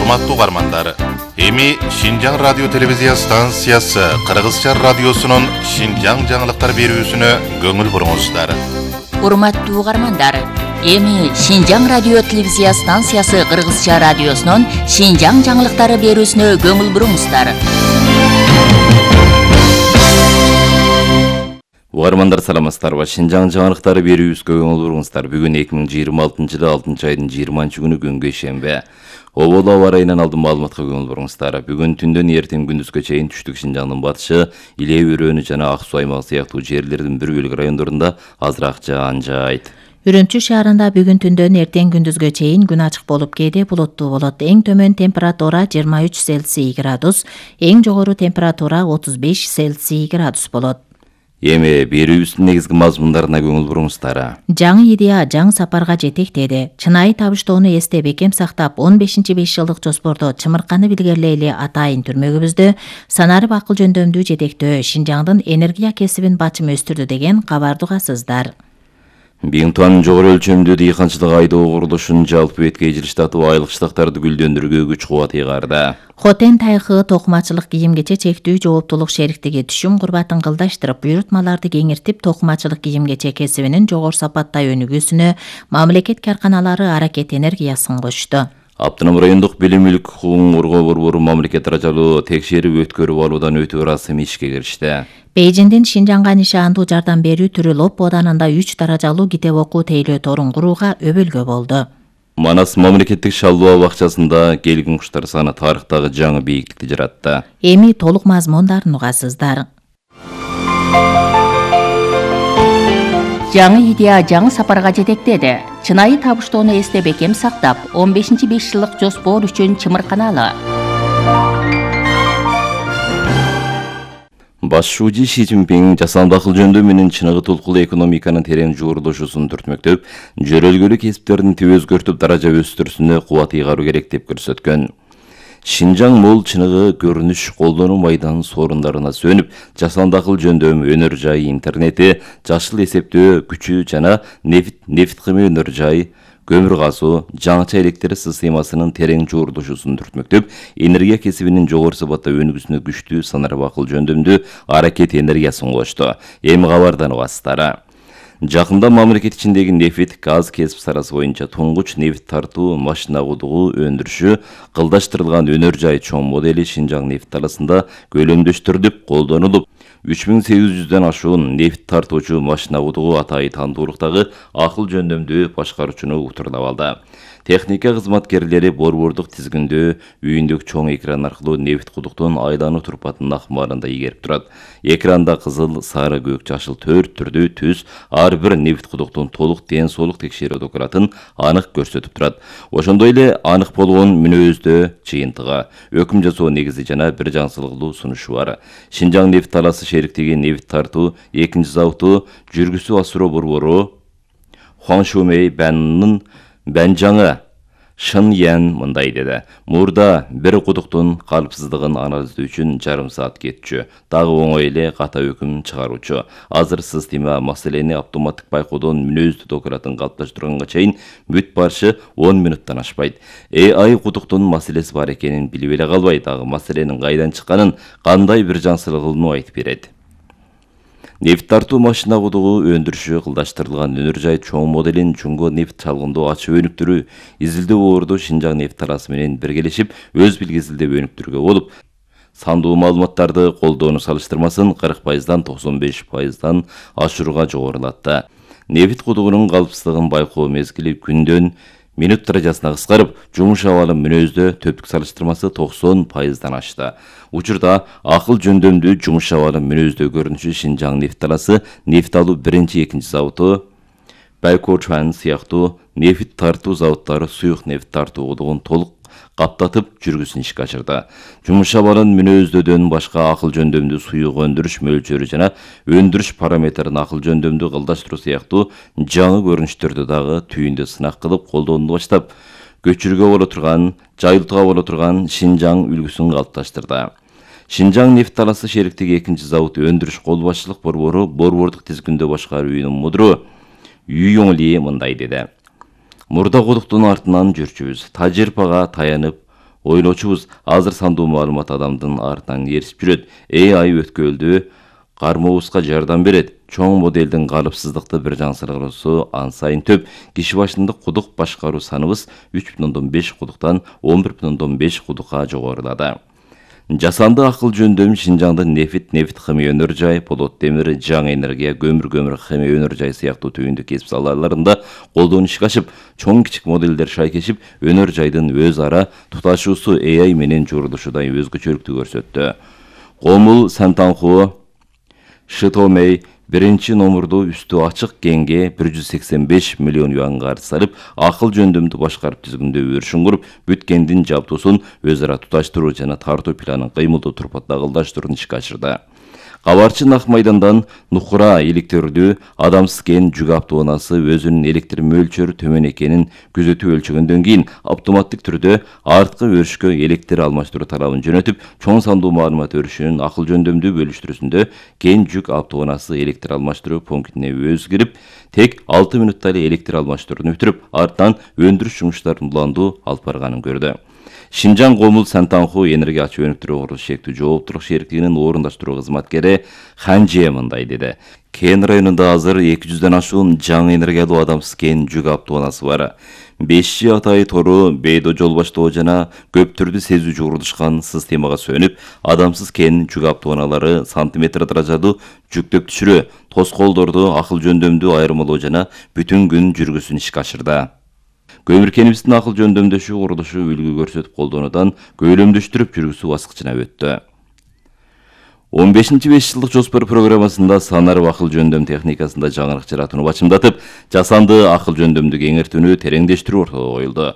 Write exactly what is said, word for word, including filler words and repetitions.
Урматтуу угармандар, эми Шинжаң радио телевизия станциясы Кыргызча радиосунун Шинжаң жаңылыктар берүүсүнө көңүл буруңуздар. Урматтуу угармандар, эми Шинжаң радио телевизия станциясы Кыргызча радиосунун Шинжаң жаңылыктары берүүсүнө көңүл буруңуздар. Угармандар саламатсыздарбы? Шинжаң жаңылыктары берүүбүзгө көңүл буруңуздар. Бүгүн эки миң жыйырма алтынчы жылы алтынчы айдын жыйырманчы күнү күнгө шембе. Обол аба ырайынан алдын маалыматка көңүл буруңуздар. Бүгүн түндөн эртең күндүзгө чейин түштүк Шинжаңдын батышы, Иле өрөөнү жана Ак Суу аймагы сыяктуу жерлердин бир бөлүк райондорунда азыраак жаан-жайт. Үрүмчү шаарында бүгүн түндөн эртең күндүзгө чейин күн ачык болуп кээде булуттуу болот. Эң төмөн температура жыйырма үч Цельсий градус, эң жогору температура отуз беш Цельсий градус болот. Эми берүүбүздүн негизги мазмундарына көңүл буруңуздар. Жаңы идея жаңы сапарга жетектеди. Чынайы табыштоону эсте бекем сактап, он бешинчи беш жылдык жоспордо чымырканы билгерлейли атайын түрмөгүбүздө санарып акыл жөндөмдүү жетектөө Шинжаңдын энергия кесибин бачым өстүрдү деген кабарды угасыздар. Бийинтуанын жогору өлчөмдүү дыйканчылык айдоо курулушун жалпы беткей жылыштатуу айлык штактарды гүлдөндүрүүгө күч кубат ыйгарды. Хотен тайкы токумачылык кийим-кече чектүү жооптулук шериктиги түшүм курбатын кылдаштырып, буйрутмаларды кеңиртип, токумачылык кийим-кече кесибинин жогору сапаттай өнүгүүсүнө мамлекет карканалары аракет энергиясын кошту. Аптынам райондук билим мүлк укугун коргоо борбору мамлекет даражалуу текшерип өткөрүп алуудан өтүү ырасымы ишке киришти. Бейжиңдин Шинжаңга нишандуу жардам берүү түрү Лоп оданында үч даражалуу китеп окуу тейлөө торун курууга өбөлгө болду. Манас мамлекеттик шалдоо бакчасында келгин куштар саны тарыхтагы жаңы бийиктикти жаратты. Эми толук мазмундарын угасыздар. Жаңы идея жаңы сапарга жетектеди. Чынайы табыштоону эсте бекем сактап, он бешинчи беш жылдык жоспор үчүн чымырканалы. Баш шүүжү Ши Цзиньпин жасанды акыл жөндөм менен чыныгы толкулуу экономиканын терең жуурулушусун түртмөктөп, жөрөлгөлүк кесиптердин түбө өзгөртүп даража өстүрүүсүнө кубат ыйгаруу керек деп көрсөткөн. Шинжаң мол чыныгы көрүнүш колдонуу майдан сорундарына сөнүп, жасанды акыл жөндөм, өнөр жай, интернети, жашыл эсептөө күчү жана нефт нефт кыймы өнөр жай, көмүр газуу, жаңыча электр системасынын терең жуурулушусун түртмөктөп, энергия кесибинин жогору сапатта өнүгүүсүнө күчтүү санарып акыл жөндөмдүү аракет энергиясын кошту. Эми кабардан угасыздар. Жакында мамлекет ичиндеги нефт, газ кесип саласы боюнча туңгуч нефт тартуу машина кудугу өндүрүшү кылдаштырылган өнөр жай чоң модели Шинжаң нефт таласында көлөмдөштүрүлүп колдонулуп, үч миң сегиз жүздөн ашуун нефт тартуучу машина кудугу атайы тандуулуктагы акыл жөндөмдүү башкаруучуну утурдап алды. Техника кызматкерлери борбордук тизгиндөө үйүндөгү чоң экран аркылуу нефт кудуктун айлануу турпатын акмарында ийгерип турат. Экранда кызыл, сары, көк, жашыл төрт түрдүү түс ар бир нефт кудуктун толук ден соолук текшерүү документин анык көрсөтүп турат. Ошондой эле анык болгон мүнөздө жыйынтыгы, өкүм жасоо негизи жана бир жаңсылыктуу сунушу бар. Шинжаң нефт таласы шериктиги нефт тартуу экинчи заводу жүргүсү асыроо борбору Хуаншумей Бэннын Бэнжаңы Шын Ян мындай деди. Мурда бир кудуктун калыпсыздыгын анализдөө үчүн жарым саат кетчү. Дагы оңой эле ката өкүм чыгаруучу. Азыр система маселени автоматтык байкоодон мүнөздүү документин калыпташтырганга чейин бүт барышы он минуттан ашпайт. эй ай кудуктун маселеси бар экенин билип эле калбай, дагы маселенин кайдан чыкканын, кандай бир жаңсылыгын айтып берет. Нефт тартуу машина кудугу өндүрүшү кылдаштырылган өнөр жай чоң моделин Чуңго нефт чалгындоо ачып өнүктүрүү изилдөө борбору Шинжаң нефт таласы менен биргелешип өз билгесилдеп өнүктүрүүгө болуп, сандуу маалыматтарды колдоону салыштырмасын кырк пайыздан токсон беш пайыздан ашырууга жогорулатты. Нефт кудугунун калыпсыздыгын байкоо мезгили күндөн минут даражасына кыскарып, жумуш абалы мүнөздө төптүк салыштырмасы токсон пайыздан ашты. Учурда акыл жөндөмдүү жумуш абалы мүнөздө көрүнүшү Шинжаң нефт таласы нефт алуу биринчи, экинчи заводу Байкочуан сыяктуу нефт тартуу заводдору суюк нефт тартуу кудугун толук каптатып жүргүсүн ишке ашырды. Жумуш абалын мүнөздөдөн башка акыл жөндөмдүү суюк өндүрүш мөлчөрү жана өндүрүш параметрин акыл жөндөмдүү кылдаштыруу сыяктуу жаңы көрүнүштөрдү дагы түйүндө сынак кылып колдонууну баштап, көчүрүүгө боло турган, жайылтууга боло турган Шинжаң үлгүсүн калыпташтырды. Шинжаң нефт таласы шериктиги экинчи завод өндүрүш кол башчылык борбору борбордук тизгиндөө башкаруу үйүнүн мудру Юйоңли мындай деди. Мурда кудуктун артынан жүрчүбүз. Тажырпага таянып, Ойлочубуз, азыр сандуу маалымат адамдын артынан еришип жүрөт. эй ай өткөлдү кармообузга жардам берет. Чоң моделдин калыпсыздыкты бир жансыргоосу ан сайын төп. Киши башындык кудук башкаруу саныбыз үч бүтүн ондон беш кудуктан он бир бүтүн ондон беш кудукка жогорулады. Жасанды акыл жөндөм Шинжаңдын нефит, нефит химия өнөр жай, полот темир, жаңы энергия, көмүр, көмүр химия өнөр жай сыяктуу түйүндү кесип салаларында колдонушка ашып, чоң кичик модельдер шайкешип, өнөр жайдын өз ара туташуусу эй ай менен журулушудай өзгөчөлүктү көрсөттү. Гомул Сантанху Шитомей биринчи номурду үстү ачык кеңге бир жүз сексен беш миллион юанга салып, акыл жөндөмдү башкарып түзгөндө өршүн куруп, бүткендин жабдуусун өз ара туташтыруу жана тартуу планын кыймылдуу турпат дагылдаштырууну ишке ашырды. Кабарчы Ак майдандан Нухура электрлүү адамсыз кен жүк автоунаасы өзүнүн электр мөлчөрү төмөн экенин күзөтүп өлчөгөндөн кийин автоматтык түрдө арткы өрүшкө электр алмаштыруу талабын жөнөтүп, чоң сандуу маалымат өрүшүнүн акыл жөндөмдүү бөлүштүрүүсүндө кен жүк автоунаасы электр алмаштыруу пунктине өзү кирип, тек алты мүнөттө эле электр алмаштырууну бүтүрүп, артынан өндүрүш жумуштарын уландуу алып барганын көрдү. Шинжаң Гомул Сантанху энергия ачуу өнүктүрүү курулуш шектүү жооптуулук шериктигинин орундаштыруу кызматкери Ханже мындай деди. Кен районунда азыр эки жүздөн ашуун жаңы энергиялуу адамсыз кен жүк автоунаасы бар. беш жи Атай тору, Бейдо жол баштоо жана көптүрдү сезүү журулушкан системага сөнүп, адамсыз кен жүк автоунаалары сантиметр даражадуу жүктөп түшүрүү, тоскоолдорду акыл жөндөмдүү айырмалоо жана бүтүн күн жүргүсүн ишке ашырды. Көмүр кенибиздин акыл жөндөмдөшүү курулушу үлгү көрсөтүп колдонуудан көйлөмдөштүрүп жүргүзүү баскычына өттү. он бешинчи беш жылдык жоспор программасында санарып акыл жөндөм техникасында жаңылык жаратууну бачымдатып, жасанды акыл жөндөмдү кеңейтүүнү тереңдештирүү ортого коюлду.